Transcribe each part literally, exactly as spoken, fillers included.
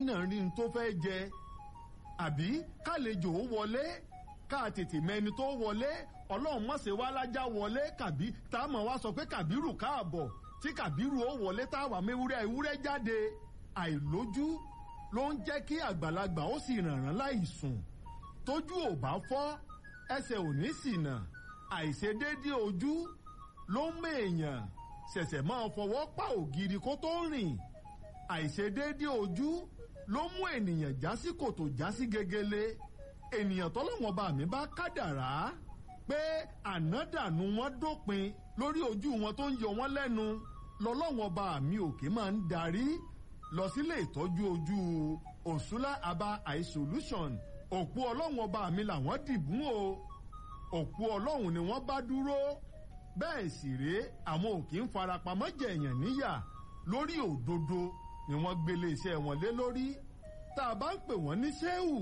Náà rí n tó fẹ́ jẹ, àbí kálejò ó wọlé, ká tètè mẹni tó wọlé. Ọlọ́run má ṣe wá lájà wọlé kàbí tá a mọ̀ wá sọ pé Kàbírù káàbọ̀, tí Kàbírù ó wọlé tá a wà méwúrẹ́ ewúrẹ́ jáde. Àìlójú ló ń jẹ́ kí àgbàlagbà ó sì rànràn láì sùn. Tójú ò bá fọ́, ẹsẹ̀ ò ní ṣìnà. Àìṣedéédé ojú ló ń mèèyàn ṣẹ̀ṣẹ̀ máa fọwọ́ pa ògiri kó tó rìn. Àìṣedéédé ojú ló mú ènìyàn já sí kòtò, já sí gegele. Ènìyàn tọ́lọ́wọ́n bá mi bá kádàrá pé ànádànù wọn dópin lórí ojú wọn tó ń yọ wọn lẹ́nu, lọ́lọ́wọ́n bá mi òkè máa ń darí lọ sílé ìtọ́jú ojú Òṣùlá Aba Eye Solution. Òpó ọlọ́wọ́n bá mi làwọn dìbò o, òpó ọlọ́run ni wọ́n bá dúró. Bẹ́ẹ̀ sì rèé, àwọn òkè ń farapamọ́ jẹ̀yàn níyà. Lórí òdodo ni wọ́n gbélé iṣẹ́ wọn lé lórí. Tá a bá ń pè wọ́n ní sẹ́wù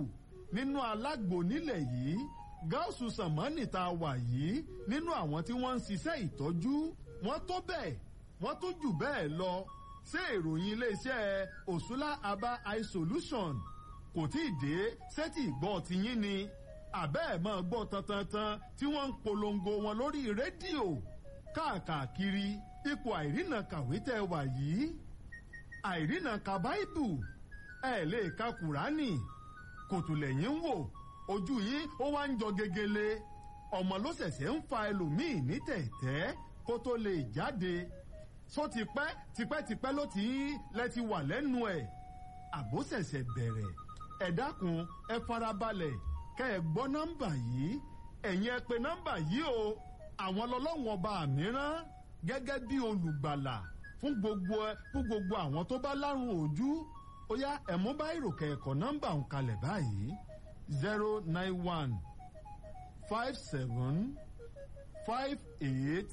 nínú alágbo nílẹ̀ yìí, gáàsù sànmọ́nì tá a wà yìí, nínú àwọn tí wọ́n ń ṣiṣẹ́ ìtọ́jú, wọ́n tó bẹ́ẹ̀, wọ́n tó jù bẹ́ẹ̀ lọ. Ṣé ìròyìn iléeṣẹ́ Òṣùlá Aba Eye Solution kò tí ì dé sétí ìgbọ́ tiyín ni? Àbẹ́ ẹ̀ máa gbọ́ tantantan tí wọ́n ń polongo wọn lórí rédíò káàkiri. Ipò àìrìnà kàwé tẹ́ wà yìí, àìrìnà ka báìbù, ẹ̀ lè ka kùránì, kòtò lẹ́yìn ń wò, ojú yín ó wá ń jọ gegele. Ọmọ ló ṣẹ̀ṣẹ̀ ń fa ẹlòmíì ní tẹ̀tẹ́ kó tó lè jáde. Só ti pẹ́ tipẹ́tipẹ́ ló ti ń lẹ ti wà lẹ́nu ẹ̀, àbó ṣẹ̀ṣẹ̀ bẹ̀rẹ̀? Ẹ dákun, ẹ farabalẹ̀ kẹ́ ẹ gbọ́ nọ́mbà yìí. Ẹ̀yin ẹ pè nọ́mbà yìí o. Àwọn lọ́lọ́wọ́n ọba mìíràn gẹ́gẹ́ bí olùgbàlà fún gbogbo fún gbogbo àwọn tó bá lárùn ojú. Ó yá, ẹ mú báyìí kẹ̀kọ́ nọ́mbà ń kalẹ̀ báyìí: zero nine one five seven five eight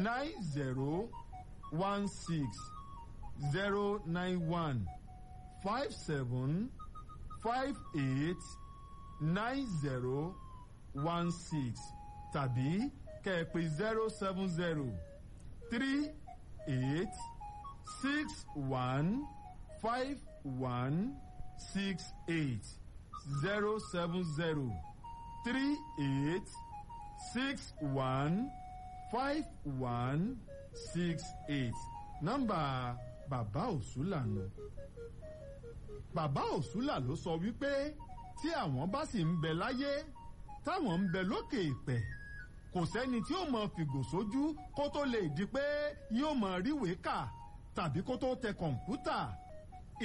nine zero one six, zero nine one five seven five eight nine zero one six, tàbí kẹ́ ẹ pè zero seven zero three eight six one five one six eight, zero seven zero three eight six one five one six eight. Nọ́mbà bàbá Òṣùlà nù. Bàbá Òṣùlà ló sọ wípé tí àwọn bá sì ń bẹ láyé, táwọn ń bẹ lókè ìpẹ́, kò sẹ́ni tí ó mọ fìgò sójú kó tó lè di pé yóò mọ ríwèé kà tàbí kó tó tẹ kọ̀ǹpútà.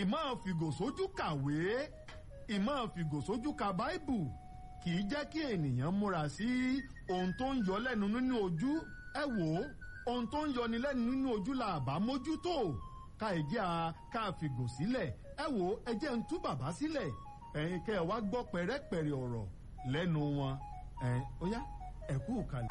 Ìmọ̀ fìgò sójú kàwé, ìmọ̀ fìgò sójú ka báìbù kì í jẹ́ kí ènìyàn múra sí ohun tó ń yọ lẹ́nu nínú ojú. Ẹ wò ó, ohun tó ń yọni lẹ́nu nínú ojú la àbá mójútó ká ẹ jẹ́ a ká fìgò sílẹ̀. Ẹ wò ó, ẹ jẹ́ ń tú bàbá sílẹ̀, ẹ̀yin kẹ́ ẹ wá gbọ́ pẹ̀rẹ́pẹ̀rẹ́ ọ̀rọ̀ lẹ́nu wọn. Ẹ̀ ó yá, ẹ kú kalẹ̀.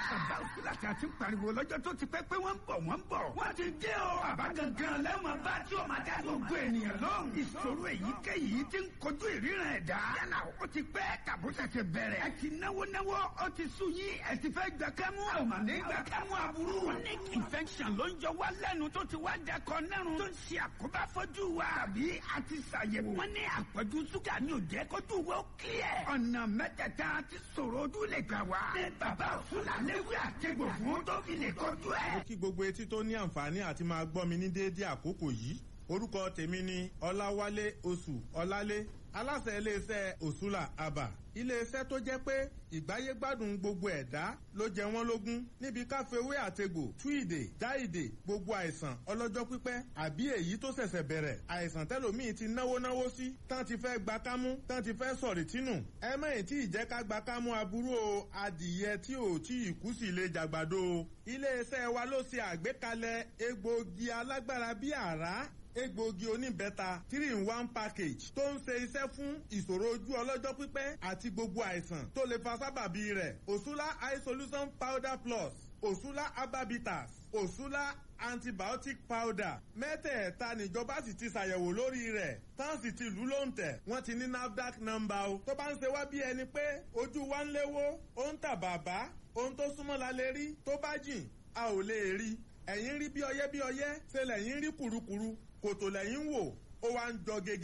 Bàbá Òṣùlá tí a ti ń pariwo lọ́jọ́ tó ti pẹ́ pé wọ́n ń bọ̀, wọ́n ń bọ̀. Wọ́n ti dé o. Bàbá gangan lẹ́wọ̀n bá tí o máa dá gbogbo ènìyàn lóhùn. Ìṣòro èyíkéyìí ti ń kojú ìríran ẹ̀dá. Yálà ó ti pẹ́ tàbó ṣẹ̀ṣẹ̀ bẹ̀rẹ̀. Ẹ ti náwó náwó, ó ti sú yín, ẹ ti fẹ́ gbà kẹ́mú. A ò mà ní gbà kẹ́mú aburú. Chronic infection ló ń jọ wá lẹ́nu tó ti wá dakọ̀ nẹ́rùn. Tó ń ṣe àkóbá fọ́jú wa. Tàbí a ti ṣàyẹ̀wò. Wọ́n ní àpọ̀jù ṣúgà ni ò jẹ́ kójú wa ó kílẹ̀. Ọ̀nà mẹ́tẹ̀ẹ̀ta ti sọ̀rọ̀ ojú lè gbà wá. Ní bàbá Òṣùlà léwu àtẹ̀gbò fún tó fi lè kọjú ẹ̀. Mo kí gbogbo etí tó ní àǹfààní àti máa gbọ́ mi ní déédéé àkókò yìí. Orúkọ tèmi ni Ọláwálé Oṣù Ọlálé, aláṣẹ iléeṣẹ́ Òṣùlà Àbà. Iléeṣẹ́ tó jẹ́ pé ìgbáyégbádùn gbogbo ẹ̀dá ló jẹ wọ́n lógún níbi káfíwé àtegbò tú ìdè já ìdè gbogbo àìsàn ọlọ́jọ́ pípẹ́ àbí èyí tó ṣẹ̀ṣẹ̀ bẹ̀rẹ̀, àìsàn tẹ́lòmíì ti náwó náwó sí, tán ti fẹ́ gba kámú, tán ti fẹ́ sọ̀rì tínú. Ẹ mẹ́yìn tí ìjẹ́ ká gba kámú aburú o. Adìyẹ tí ò tí ì kú sí lè jàgbàdo o. Iléeṣẹ́ wa ló ṣe àgbékalẹ̀ egbòogi alágbára bí àrá, egbòogi oníbẹ́ta three in one package tó ń ṣe iṣẹ́ fún ìṣòro ojú ọlọ́jọ́ pípẹ́ àti gbogbo àìsàn tó lè fa sábàbí rẹ̀. Òṣùlá Eye Solution Powder Plus, Òṣùlá Ababitas, Òṣùlá Antibiotic Powder, mẹ́tẹ̀ẹ̀ta níjọba sì ti ṣàyẹ̀wò lórí rẹ̀, tán sì ti lù lóǹtẹ̀. Wọ́n ti ní NAFDAC nọ́mbà o. Tó bá ń ṣe wá bí ẹni pé ojú wa ń léwó, ó ń tà bàbá, ohun tó súnmọ́ la lè rí, tó bá jìn a ò lè rí. Ẹ̀yin rí bí ọyẹ́ bí ọyẹ́, ṣe lẹ̀yin rí kùrukùru, kòtò lẹ́yìn wò. ó wá ń jọ gègé.